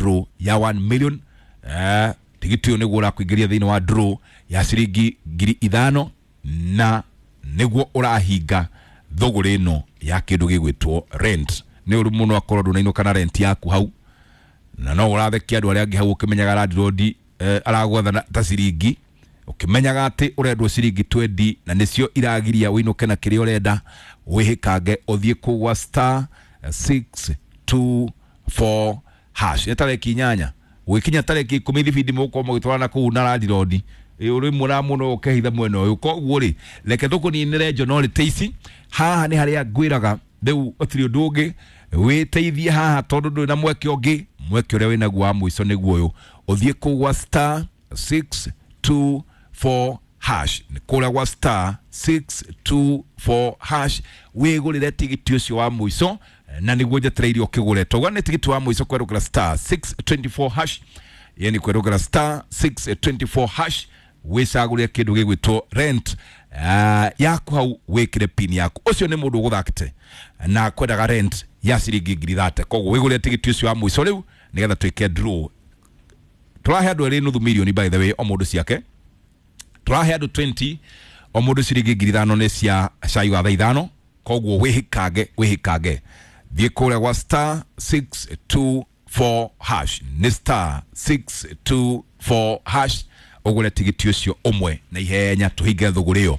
draw ya 1 million. Tigiti ũyũ nĩguo ũrakũingĩria thĩinĩ wa draw ya ciringi 5,000 na nĩguo ũrahinga thũgũrĩ ĩno ya kĩndũ gĩgwĩtwo rent. Nĩ ũru mũno akorwo ndũnainũka na rent yaku hau, na no ũrathekia andũ arĩa angĩ hau ũkĩmenyaga landlord aragwatha ta ciringi, ũkĩmenyaga atĩ ũrendwo ciringi 20 na nĩcio iragiria ũinũke na kĩrĩa ũrenda. Wĩhĩkange ũthiĩ kũu gwa star 624 hash. Nĩ tarĩki 8 gũgĩkinya tarĩki 10 thibindi mũgũkorwo mũgĩtwarana kũu na landlord ũrĩ mũra mũno ũkehitha mwena ũyũ. Koguo rĩ, reke tũkũninĩre njono ta ici. Haha nĩ harĩa ngwĩraga rĩu ũtirĩ ũndũ ũngĩ wĩteithie haha, tondũ ndũrĩ na mweke ũngĩ. Mweke ũrĩa wĩnaguo wa mũico nĩguo ũyũ, ũthiĩ kũu gwa star 624 hash, kũrĩa gwa star 624 hash wĩgũrĩre tigiti ũcio wa mũico, na nĩguo njetereire ũkĩgũre. Tauga nĩ tigiti wa mũico kwerũkĩra star 624 hash, yani kwerũkĩra star 624 hash wĩcagũrĩre kĩndũ gĩgwĩtwo rent yaku hau, wĩkĩre pin yaku. Ũcio nĩ mũndũ ũgũthakĩte na kwendaga rent ya ciringi 30,000. Koguo wĩgũrĩre tigiti ũcio wa mũico rĩu nĩgetha twĩke draw. Tũrahe andũ erĩ nuthu milioni by the way, o mũndũ ciake. Tũrahe andũ 20 o mũndũ ciringi 5,000 nĩ cia cai wa thaa 5. Koguo wĩhĩkange, wĩhĩkange, thiĩ kũrĩa gwa star 624 hash, nĩ star 624 hash ũgũre tigiti ũcio ũmwe na ihenya tũhinge thũgũrĩ ĩyo.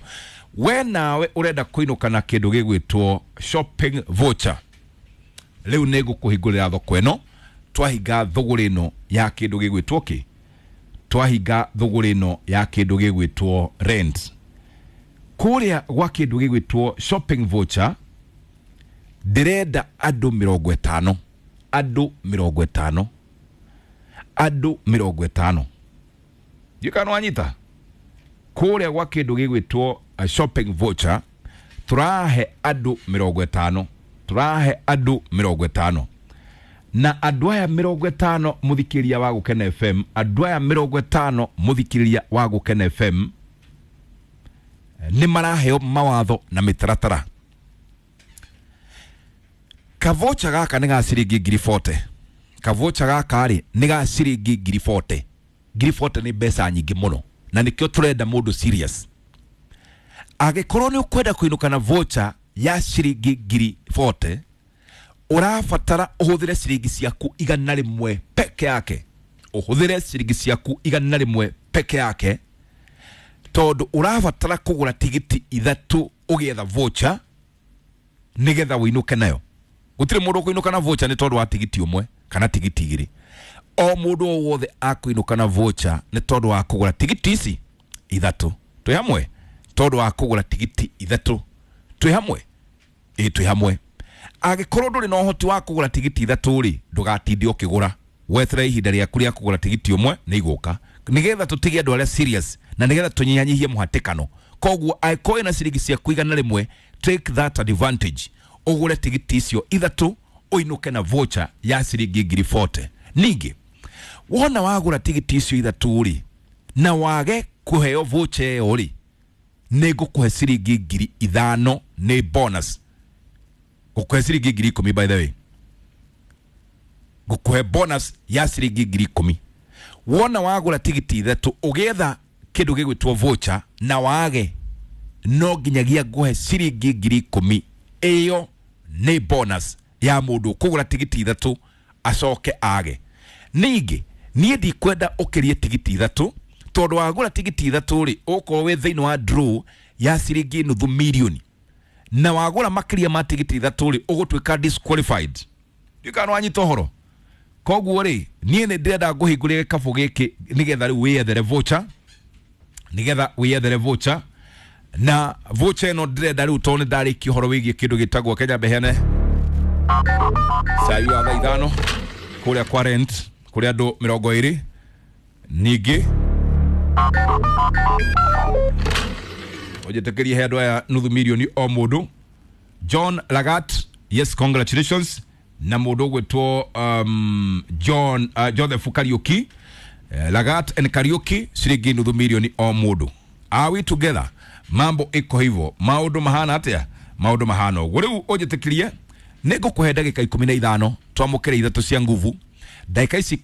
We nawe ũrenda kũinũka na kĩndũ gĩgwĩtwo shopping voucher, rĩu nĩ ngũkũhingũrĩra thoko ĩno. Twahinga thũgũrĩ ĩno ya kĩndũ gĩgwĩtwo kĩ, twahinga thũgũrĩ ĩno ya kĩndũ gĩgwĩtwo rent. Kũrĩa gwa kĩndũ gĩgwĩtwo shopping voucher ndĩrenda andũ 50, andũ 50, andũ 50. Ndiũĩ kana nĩwanyita. Kũrĩa gwa kĩndũ gĩgwĩtwo shopping voucher tũrahe andũ 50, tũrahe andũ 50. Na andũ aya 50 mũthikĩrĩria wa Gũkena FM, andũ aya 50 mũthikĩrĩria wa Gũkena FM nĩ maraheo mawatho na mĩtaratara. Kavocha gaka nĩ ga ciringi 40,000. Kavocha gaka rĩ nĩ ga ciringi 40,000. 40,000 nĩ mbeca nyingĩ mũno, na nĩkĩo tũrenda mũndũ serious. Angĩkorwo nĩ ũkwenda kũinũka na voucher ya ciringi 40,000, ũrabatara ũhũthĩre ciringi ciaku 100 peke yake, ũhũthĩre ciringi ciaku 100 peke yake, tondũ ũrabatara kũgũra tigiti 3 ũgĩetha voucher nĩgetha ũinũke nayo. Gũtirĩ mũndũ ũkũinũka na voucher nĩ tondũ wa tigiti ũmwe kana tigiti 2. O mũndũ o wothe akũinũka na voucher nĩ tondũ wa kũgũra tigiti ici 3. Twĩ hamwe? Tondũ wa kũgũra tigiti 3. Twĩ hamwe? Ĩĩ, twĩ hamwe. Angĩkorwo ndũrĩ na ũhoti wa kũgũra tigiti 3 rĩ, ndũgatinde ũkĩgũra, weterere ihinda rĩaku rĩa kũgũra tigiti ũmwe nĩ igũka, nĩgetha tũtige andũ arĩa serious na nĩgetha tũnyihanyihie mũhatĩkano. Koguo angĩkorwo wĩna ciringi ciaku 100, take that advantage, ũgũre tigiti icio 3 ũinũke na voucher ya ciringi 40,000. Ningĩ wona wagũra tigiti icio 3 rĩ, na wage kũheo voucher ĩyo rĩ, nĩ ngũkũhe ciringi 5,000 nĩ bonus. Ngũkũhe ciringi 10,000 by the way, ngũkũhe bonus ya ciringi 10,000. Wona wagũra tigiti 3 ũgĩetha kĩndũ gĩgwĩtwo voucher na wage, no nginyagia ngũhe ciringi 10,000. Ĩyo nĩ bonus ya mũndũ kũgũra tigiti 3 acoke age. Ningĩ niĩ ndikwenda ũkĩrie tigiti 3, tondũ wagũra tigiti 3 rĩ, ũgũkorwo wĩ thĩinĩ wa draw ya ciringi nuthu milioni, na wagũra makĩria ma tigiti 3 rĩ, ũgũtuĩka disqualified. Ndiũĩ kana nĩwanyita ũhoro. Koguo rĩ, niĩ nĩ ndĩrenda ngũhingũrĩre gĩkabũ gĩkĩ nĩgetha rĩu wĩyethere voucher, nĩgetha wĩyethere voucher. Na voucher ĩno ndĩrenda rĩu, tondũ nĩ ndarĩkia ũhoro wĩgiĩ kĩndũ gĩtagwo Kenya Mbeheane cai wa thaa 5 kũrĩa kwa rent kũrĩ andũ 20. Ningĩ ũnjĩtĩkĩrie he andũ aya nuthu milioni o mũndũ. John Lagat, yes, congratulations. Na mũndũ ũgwĩtwo John Joseph Kariuki, Lagat and Kariuki, ciringi nuthu milioni o mũndũ. Are we together? Mambo iko hivyo, maũndũ mahana atĩa? Maũndũ mahana ũguo. Rĩu ũnjĩtĩkĩrie nĩ ngũkũhe ndagĩka 15 twamũkĩre 3 cia nguvu. Ndagĩka ici